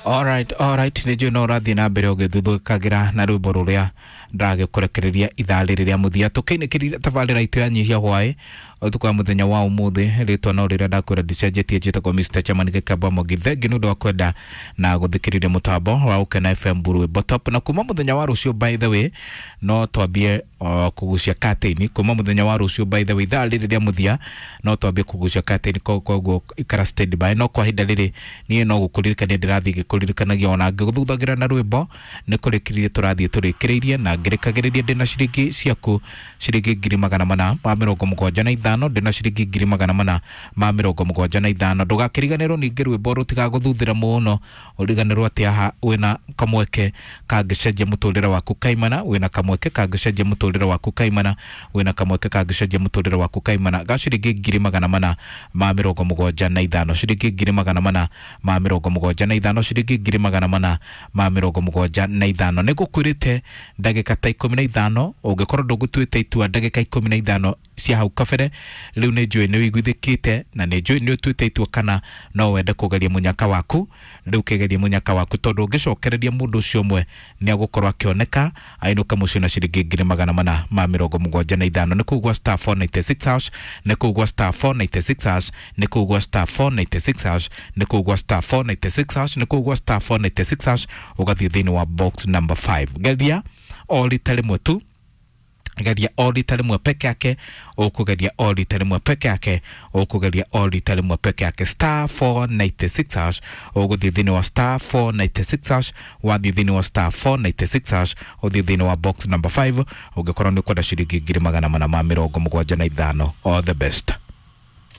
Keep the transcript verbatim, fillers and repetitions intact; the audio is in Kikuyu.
Alright, alright, nä njå no å rathiä na mbere å gä thuthũkagä na rwä mbo rå rä a ndagä kå rekereria ithaa rä rä rä a må thia tå kä inä kä rire tabarä ra itå ya nyihia hwaä ũtukũ wa mũthenya wa ũmũthĩ. Rĩtwa no rĩrĩa ndakwĩra ndicenjetie, njĩtagwo Mister Chairman Gĩkamba Mwangi. Thengi nĩ ũndũ wa kwenda na gũthikĩrĩria mũtambo wa Ũkena F M rwĩmbo top. Na kuma mũthenya wa rũciũ, by the way, no twambie uh, kũgucia curtain. Kuma mũthenya wa rũciũ, by the way, ithaa rĩrĩ rĩa mũthia no twambie kũgucia curtain, koguo ikara stand by. No kwa ihinda rĩrĩ niĩ no gũkũririkania ndĩrathiĩ ngĩkũririkanagia ona ngĩgũthuthagĩra na rwĩmbo nĩ kũrĩkĩrĩria tũrathiĩ tũrĩkĩrĩirie na ngĩrĩkagĩrĩria ndĩna ciringi ciaku, ciringi ngiri magana mana ma mĩrongo mũgwanja na ithano, ndĩna ciringi ngiri magana mana ma mĩrongo mũgwanja na ithano. Ndũgakĩriganĩrwo ningĩ rwĩmbo rũtigagũthuthĩra mũno, ũriganĩrwo atĩ haha wĩna kamweke kangĩcenjia mũtũrĩre waku kaimana, wĩna kamweke kangĩcenjia mũtũrĩre waku kaimana, wĩna kamweke kangĩcenjia mũtũrĩre waku kaimana ga ciringi ngiri magana mana ma mĩrongo mũgwanja na ithano, ciringi ngiri magana mana ma mĩrongo mũgwanja na ithano, ciringi ngiri magana mana ma mĩrongo mũgwanja na ithano. Nĩ ngũkwĩrĩte ndagĩka ta ikũmi na ithano, ũngĩkorwo ndũgũtuĩte itua ndagĩka ikũmi na ithano cia hau kabere, rĩu nĩ njũĩ nĩ ũiguithĩkĩte na nĩ njũĩ nĩ ũtuĩte itua kana no wende kũgeria mũnyaka waku. Rĩu kĩgerie mũnyaka waku, tondũ ũngĩcokereria mũndũ ũcio ũmwe nĩ agũkorwo akĩoneka ainũke mũciĩ na ciringi ngiri magana mana ma mĩrongo mũgwanja na ithano. Nĩ kũu gwa star four ninety six hash, nĩ kũu gwa star four ninety six hash, nĩ kũu gwa star four ninety six hash, nĩ kũu gwa star four ninety six hash, nĩ kũu gwa star four ninety six hash, ũgathiĩ thĩinĩ wa box number five. Geria o rita rĩmwe tu, geria o rita rĩmwe peke yake, ũkũgeria o rita rĩmwe peke yake, ũkũgeria o rita rĩmwe peke yake, star four ninety six hash, ũgũthiĩ thĩinĩ wa star four ninety six hash, wathiĩ thĩinĩ wa star four ninety six hash, ũthiĩ thĩinĩ wa box number five, ũngĩkorwo nĩ ũkwenda ciringi ngiri magana mana ma mĩrongo mũgwanja na ithano. All the best.